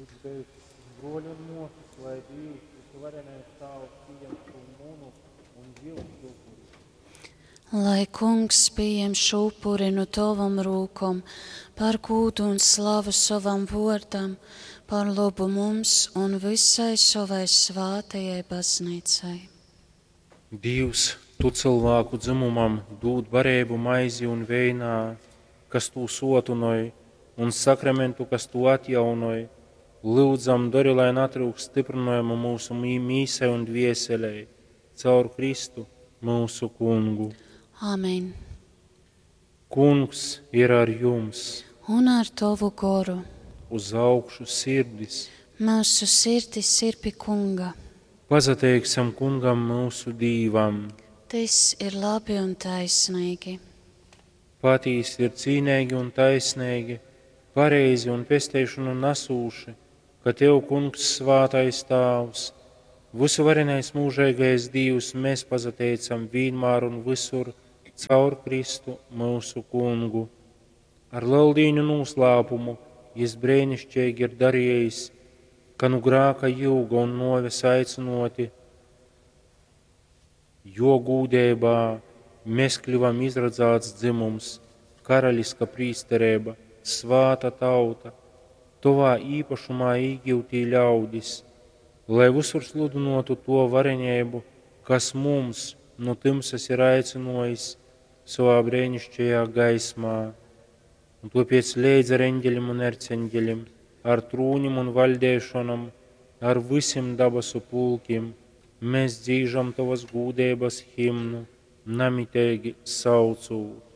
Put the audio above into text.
Lyudzu bruoļi un muosys, lai Dīvs, vysuvarenais Tāvs, pījem šū munu un jyusu upuri. Lai Kungs pieņem šo upuri no tavam rūkom par gūdu un slavu sovam vārdam, par labu mums un visai savai svātajai baznīcai. Dīvs, tu cylvāku dzymumam dūd bareibu maizi un veinā, kas tū suotynoj, un sakramentu, kas tū atjaunoj, lyudzam, dori, lai natryukst styprynojuma myusu mīsai un dvieselei, caur Kristu, myusu Kungu. Āmen. Kungs ir ar jums! Un ar tavu goru. Uz augšu sirdis! Mūsu sirdis ir pie Kunga. Pasateiksim Kungam myusu Dīvam! Tas ir labi un taisnīgi. Patīsi ir cīneigi un taisneigi, pareizi un pesteišonu nasūši, ka Tev, Kungs, svātais Tāvs, vysuvarenais mūžeigais Dīvs, mēs pasateicam vienmēr un visur caur Kristu myusu Kungu. Ar Leldīņu noslēpumu Jis brēnišķīgi ir darījis, ka nu grāka jūga un noves aicinoti, jo gūdībā mēs kļuvam izradzāts dzimums, karaļiska prīsterība, svāta tauta, tovā īpašumā īgūtī ļaudis, lai visur sludinotu to varenību, kas mums no tumsas ir aicinojis savā brēnišķajā gaismā. Un tāpēc līdz ar eņģeļiem un erceņģeļiem, ar trūņiem un valdēšanam, ar visiem dabasu pulkiem, mēs dzīžam tavas gūdības himnu, namitīgi saucūt.